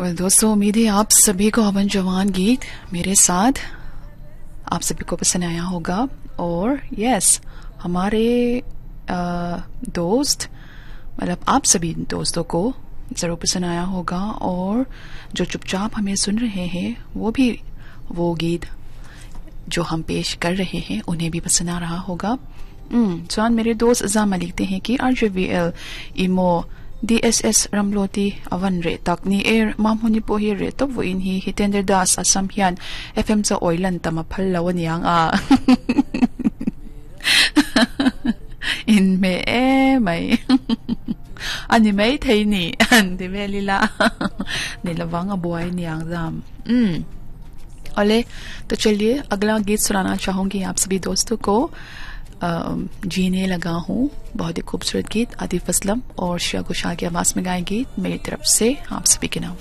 Well दोस्तों, उम्मीद है आप सभी को हवन जवान गीत मेरे साथ आप सभी को पसंद आया होगा। और यस, हमारे दोस्त, मतलब आप सभी दोस्तों को ज़रूर पसंद आया होगा। और जो चुपचाप हमें सुन रहे हैं वो भी वो गीत जो हम पेश कर रहे हैं उन्हें भी पसंद आ रहा होगा। chuan मेरे दोस्त Zama लिखते हैं कि RJVL imo DSS Ramloti avan re tak ni er mamhuni po hi re top vo in hi Hitender Das Assam hian FM cha oilan tama phal lo aniang a in me e mai ani mai thei ni an ti velila ni lawang a buai niang zam. ओले तो चलिए अगला गीत सुनाना चाहूंगी आप सभी दोस्तों को। जीने लगा हूँ, बहुत ही खूबसूरत गीत आतिफ असलम और श्रेया घोषाल की आवाज़ में गाए गीत मेरी तरफ से आप सभी के नाम।